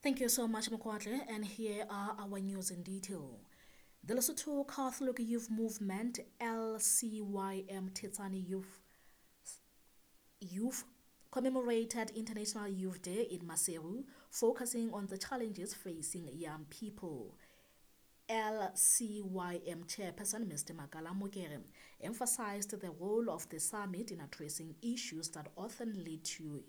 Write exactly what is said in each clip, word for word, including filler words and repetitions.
Thank you so much, Mokwatle, and here are our news in detail. The Lesotho Catholic Youth Movement, L C Y M Thetsane Youth, Youth commemorated International Youth Day in Maseru, focusing on the challenges facing young people. L C Y M Chairperson Mister Makala Mokere emphasized the role of the summit in addressing issues that often lead to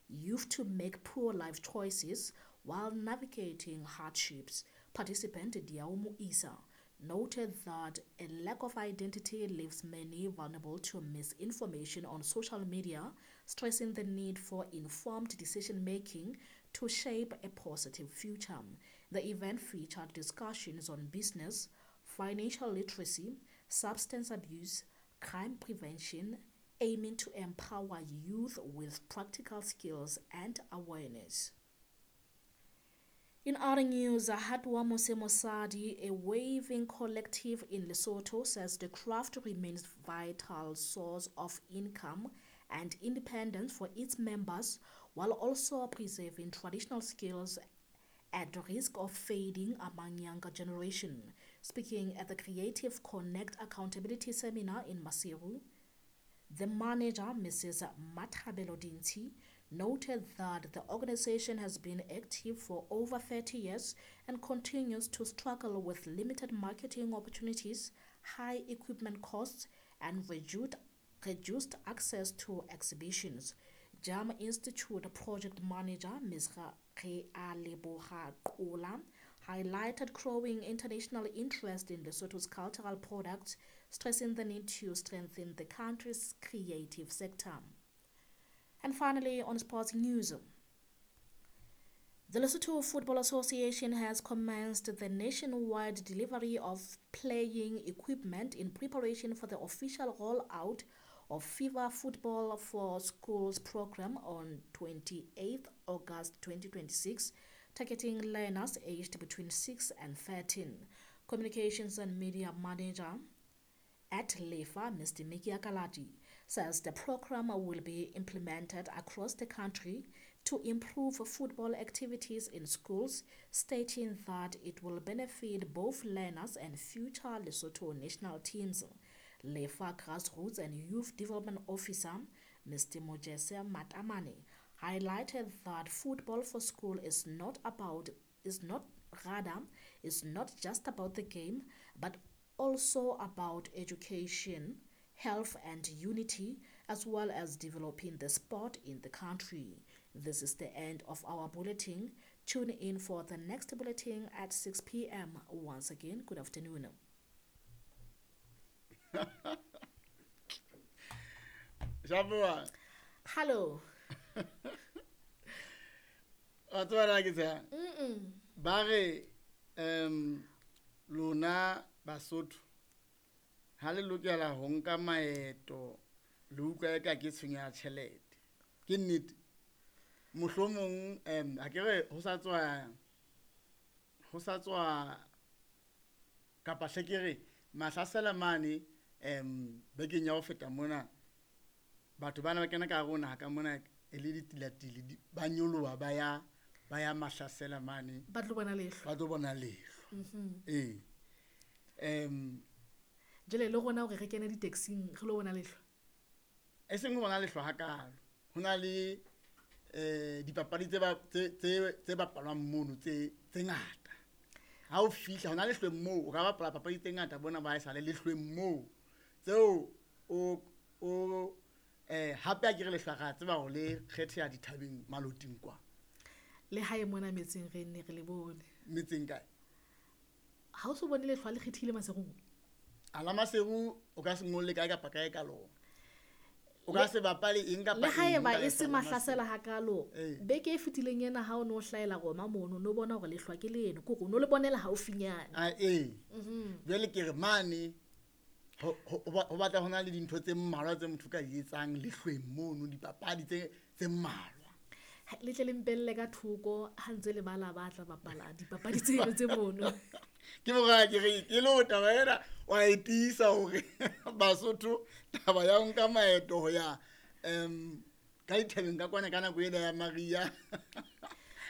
youth to make poor life choices while navigating hardships. Participant Diaumu Isa noted that a lack of identity leaves many vulnerable to misinformation on social media, stressing the need for informed decision-making to shape a positive future. The event featured discussions on business, financial literacy, substance abuse, crime prevention, aiming to empower youth with practical skills and awareness. In other news, Hatwa Mosemosadi, a weaving collective in Lesotho, says the craft remains vital source of income and independence for its members, while also preserving traditional skills at risk of fading among younger generation. Speaking at the Creative Connect Accountability Seminar in Maseru, the manager, Missus Mathabelo Dinti, noted that the organization has been active for over thirty years and continues to struggle with limited marketing opportunities, high equipment costs, and reduced, reduced access to exhibitions. JAM Institute project manager, Miz Realeboha Kola, highlighted growing international interest in Lesotho's cultural products, stressing the need to strengthen the country's creative sector. And finally, on sports news, the Lesotho Football Association has commenced the nationwide delivery of playing equipment in preparation for the official rollout of FIFA Football for Schools program on twenty-eighth August twenty twenty-six, targeting learners aged between six and thirteen. Communications and Media Manager at LEFA, Mister Miki Akalati, says the program will be implemented across the country to improve football activities in schools, stating that it will benefit both learners and future Lesotho national teams. LEFA Grassroots and Youth Development Officer, Mister Mojese Matamane, highlighted that football for school is not about, is not rather, is not just about the game, but also about education, health and unity, as well as developing the sport in the country. This is the end of our bulletin. Tune in for the next bulletin at six P M. Once again, good afternoon. Shabua. Hello. Mm-mm. Bare, um, lona Basotho ha le lokela ho nka maeto le utlwa eka ke tshenyo ya tjhelete. Ke nnete. Mohlomong, em, ha ke re ho sa tswa, ho sa tswa kapa hle ke re mahlasela mane, em, bekeng ya ho feta mona, batho bana ba kena ka hare ho naha ka mona e le ditilatile, di-, ba nyoloha ba ya, ba ya mahlasela mane. Ba tlo bona lehlwa. Ba tlo bona lehlwa. Mm-hmm. Ee. Em, Jwale le rona hore re kene di-taxing, re lo bona lehlwa? E seng ho bona lehlwa hakalo. Ho na le, eh, dipapadi tse ba-, tse, tse, tse bapalwang mono tse, tse ngata. Ha o fihla, hona lehlweng moo, o ka bapala papadi tse ngata bona ba haesale lehlweng moo. Tseo o, o, eh, hape ha ke re lehlwa ra tseba hore le kgetheha dithabeng maloting kwa. Le hae mona metseng re nne re le bone. Metseng kae? Ha o so bone lehlwa le kgethile Maseru? A la Maseru o ka se ngolle kae kapa kae ka lona. O ka se bapale eng kapa Le haeba eng ka e se lehlwa la Maseru. mahlasela hakalo, Ee. beke e fetileng ena ha o no hlahela Roma mono, no bona hore lehlwa ke leno, ke hore o no le bonela haufinyane. Ah, ee. Mhm. Jwale ke re mane, ho, ho, ho ba-, ho batla ho na le dintho tse mmalwa tse motho ka di etsang lehlweng mono, dipapadi tse, tse mmalwa. Ha, le tle le mpelle ka thoko ha ntse le bala ba tla bapala dipapadi tseno tse mono. Ke mora ke re, ke lo taba ena wa e tiisa hore Basotho taba ya ho nka maeto ho ya, em, ka dithabeng ka kwana ka nako ena ya Maria.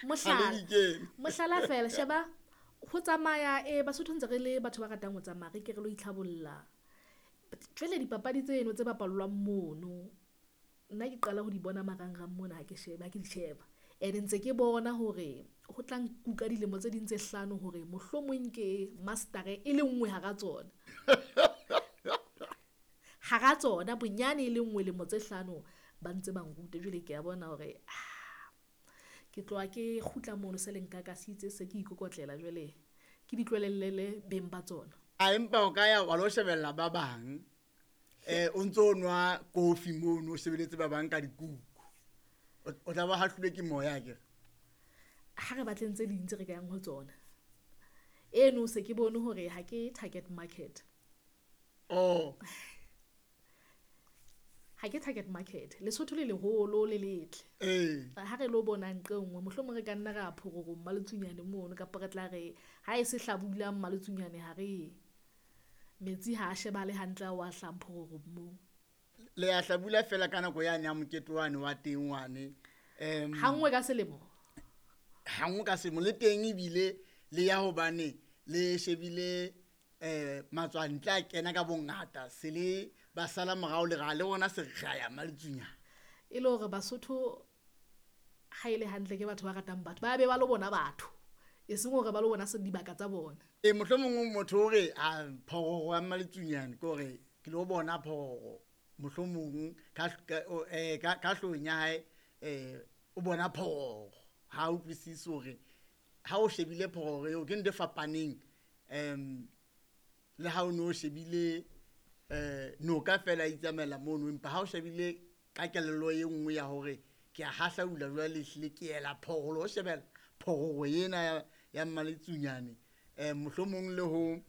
Mohlala mohlala fela sheba ho tsamaya e Basotho ntse re le batho ba ratang ho tsamaya re ke re lo itlhabolla. Jwale dipapadi tseno tse bapallwang mono nna ke qala ho di bona marangrang mona ha ke sheba ha ke di sheba. And ntse ke bona hore ho tla nkuka dilemo tse ding tse hlano hore mohlomong ke master-e e le nngwe hara tsona. Hara tsona bonyane e le nngwe lemo tse hlano ba ntse ba nrute. Jwale ke a bona hore ke tloha ke kgutla mono se le nkakasitse se ke ikokotlela jwale ke di tlohellele beng ba tsona. A empa o ka ya wa lo shebella ba bang. Eh o ntso nwa kofi mono o shebeletse ba bang ka dikuku. O tla ba hahlilwe ke moya akere. Ha re batleng tse ding tse re ka yang ho tsona. Eno se ke bone hore ha ke target market. Oh. Ha ke target market. Lesotho le leholo le letle. Eh. Ha re lo bona nqe nngwe mohlomong re ka nna ra phororo Mmaletsunyane mono kapa re tla re ha e se hlabula Mmaletsunyane ha re metsi ha a shebale hantle a wa hlang phororo moo. Le a hlabula fela ka nako yane ya mokete wane wa teng wane. Em Ha nngwe ka selemo. Ha nngwe ka selemo le teng ebile le ya hobane le shebile eh matswantle a kena ka bongata se le ba sala morao le ra le bona se re ya Mmaletsunyane. E le hore Basotho ha ile hantle ke batho ba ratang batho ba be ba lo bona batho e seng hore ba lo bona se dibaka tsa bona. E mohlomong motho o re a phororo ya Mmaletsunyane ke hore ke lo bona phororo mohlomong ka eh ka ka hlong ya hae eh o bona phororo ha o utlwisise hore ha o shebile phororo eo ke ntho e fapaneng em le ha o no shebile eh noka fela e itsamaela mono empa ha o shebile ka kelello e nngwe ya hore ke a hahlaula jwale ehlile ke ela phororo o shebela phororo ena ya Mmaletsunyane eh mohlomong le ho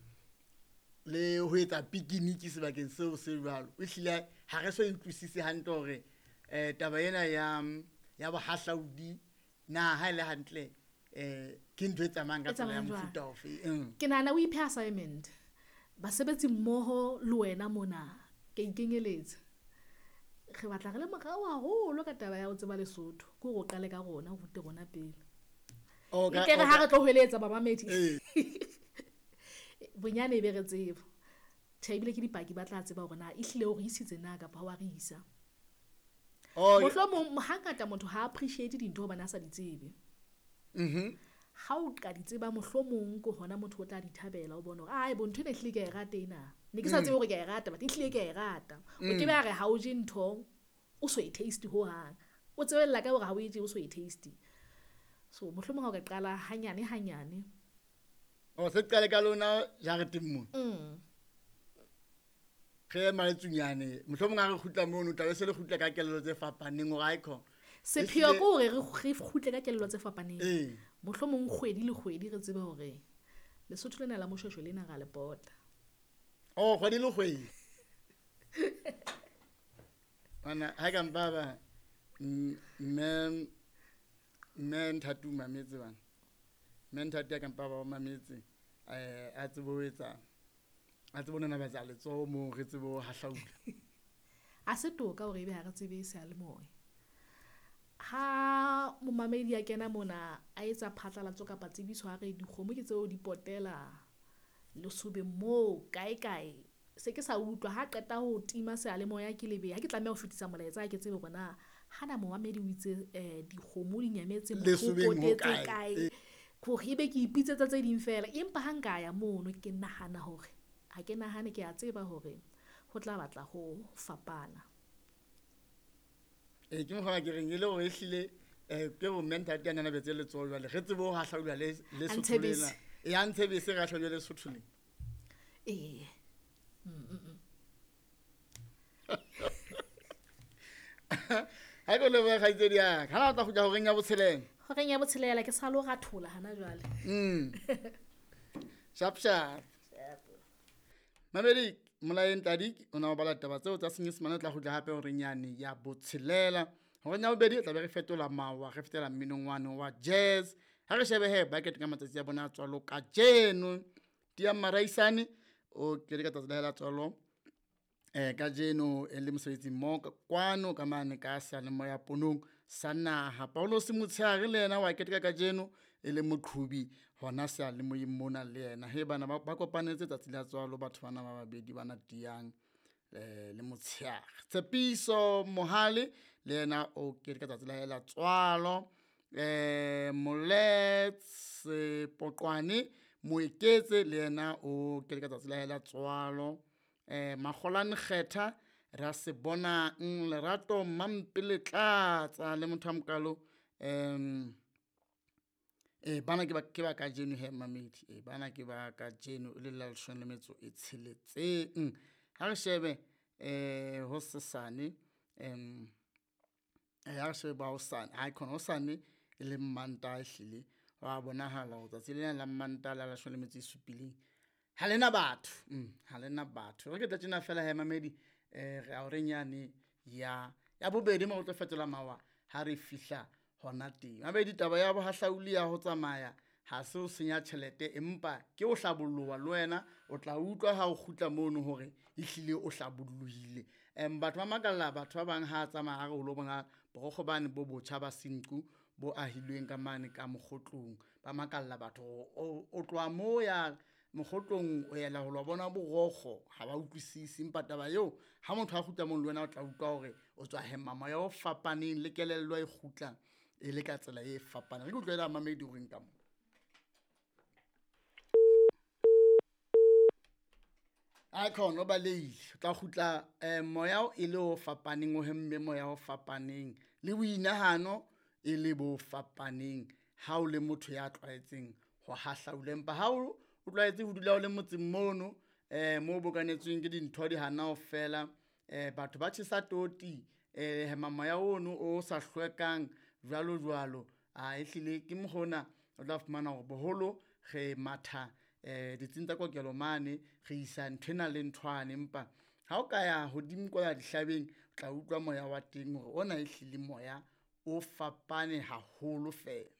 le ho etsa picnic sebakeng seo se jwalo e hlile ha re so utlwisise hantle hore eh taba ena ya ya bohahlaudi na ha ile hantle eh ke ntho e tsamayang ka tsela ya mofuta ofe. Ke nahana o iphe assignment basebetsi mmoho le wena mona ke ikenyeletsa re batla re le morao haholo ka taba ya ho tseba Lesotho ke hore o qale ka rona o rute rona pele. O ka re ha re tlo hweletsa bamamedi bonyane e be re tseba tjhe ebile ke dipaki ba tla tseba hore na ehlile o re isitse na kapa ha wa re isa. Mohlomong hangata motho ha appreciate dintho hobane a sa di tsebe. Mhm. Ha o ka di tseba mohlomong ke hona motho o tla di thabela o bona hore ai bo ntho ena ehlile ke a e rata ena. Ne ke sa tsebe hore ke a e rata but ehlile ke a e rata. O ke be a re ha o je ntho o so e taste hohang. O tsebella ka hore ha o e je o so e taste. So mohlomong ha o ka qala hanyane hanyane. O se qale ka lona jareteng mona. Mm. Re Mmaletsunyane mohlomong ha re kgutla mono tla be se le kgutla ka kelello tse fapaneng hore aikho. Sepheo ke hore re kgutle ka kelello tse fapaneng. Eh. Mohlomong kgwedi le kgwedi re tsebe hore Lesotho lena la Moshweshwe lena ra le pota. Oh kgwedi le kgwedi. Bana ha ka mpa ba mme mme Nthati o mametse bana. Mme Nthati ya ka mpa ba mametse eh a tsebe ho etsa a tsebe ho nanabatsa letsoho moo re tsebe ho hahlaula. A se toka hore ebe ha re tsebe seyalemoya. Ha momamedi a kena mona a etsa phatlalatso kapa tsebiso ha re dikgomo ke tseo di potela lesobeng moo kae kae se ke sa utlwa ha qeta ho tima seyalemoya ke lebe ha ke tlameha ho fetisa molaetsa ke tsebe hore na hana momamedi o itse eh dikgomo di nyametse motho o potetse kae hore ebe ke ipitsetsa tse ding fela empa ha nka ya mono ke nahana hore ha ke nahane ke a tseba hore ho tla batla ho fapana. E ke mokgwa ke reng e le hore ehlile eh ke bo mme Nthati a nanabetse letsoho jwale re tsebe ho hahlaula le le Sotho lena. E a ntshebese re hahlaule le Sotho lena. Eh. Mm. Ha ke le ba kgaitsedi ya ka ha o tla kgutla horeng ya botshelela. Horeng ya botshelela ke sa lo rathola hana jwale. Mm. Sharp sharp. Mamedi Molaeng Tladi o na o bala taba tseo tsa Senyesemane o tla kgutla hape horeng yane ya botshelela. Horeng ya bobedi tla be re fetola mawa re fetela mminong wane wa jazz. Ha re shebe he ba keteka matsatsi a bona a tswalo kajeno. Tia Maraisane o keteka tsatsi la hae la tswalo eh kajeno e le mosebetsi mmoho kwano ka mane ka seyalemoya ponong. sa naha. Paulos Motshehare le yena wa keteka kajeno e le moqhobi hona seyalemoyeng mona le yena. He bana ba ba kopanetse tsatsi la tswalo batho bana ba babedi bana tiyang eh le motshehare. Tshepiso Mohale le yena o keteka tsatsi la hae la tswalo. Eh Moletse Poqwane Moeketse le yena o keteka tsatsi la hae la tswalo. Eh Makgolane Kgetha ra se bonang Lerato Mampele Tlatsa le motho a mokalo em eh bana ke ba ke ba kajeno he mamedi eh bana ke ba kajeno e le la leshome le metso e tsheletseng. Ha re shebe eh hosesane em eh ha re shebe ba hosane ha khona hosane e le Mantaha ehlile wa bonahala hore tsatsi lena la Mantaha la leshome le metso e supileng ha lena batho ha lena batho. Re ke tla tjena fela he mamedi eh re horeng yane ya ya bobedi mo re tlo fetola mawa ha re fihla hona teng. Mamedi taba ya bohahlauli ya ho tsamaya ha se ho senya tjhelete empa ke ho hlabolloha le wena o tla utlwa ha o kgutla mono hore ehlile o hlabollohile. Em batho ba makalla batho ba bang ha tsamaya a re o lo bona borokgo bane bo botjha ba Senqu bo ahilweng ka mane ka Mokgotlong. Ba makalla batho o o tloha mo ya Mokgotlong o yela ho lo bona borokgo ha ba utlwisisi, empa taba eo ha motho a kgutla mono le wena o tla utlwa hore o tswa hema moya o fapaneng le kelello e kgutla e le ka tsela e fapaneng. Re ke utlwela mamedi o reng ka mo. A khona o balehile o tla kgutla eh, moya e le o fapaneng o hemme moya o fapaneng le boinahano e le bo fapaneng ha o le motho ya tlwaetseng ho hahlaula. Empa ha o o tlwaetse ho dula o le motseng mono eh mo bokanetsweng ke dintho di hana ho fela eh batho ba tjhesa toti eh hema moya ono o sa hlwekang jwalo jwalo. A ehlile ke mokgona o tla fumana hore boholo re matha eh ditsing tsa kokelo mane re isa nthwena le nthwane, empa ha o ka ya hodimo kwa dihlabeng o tla utlwa moya wa teng hore ona ehlile moya o fapane haholo fela.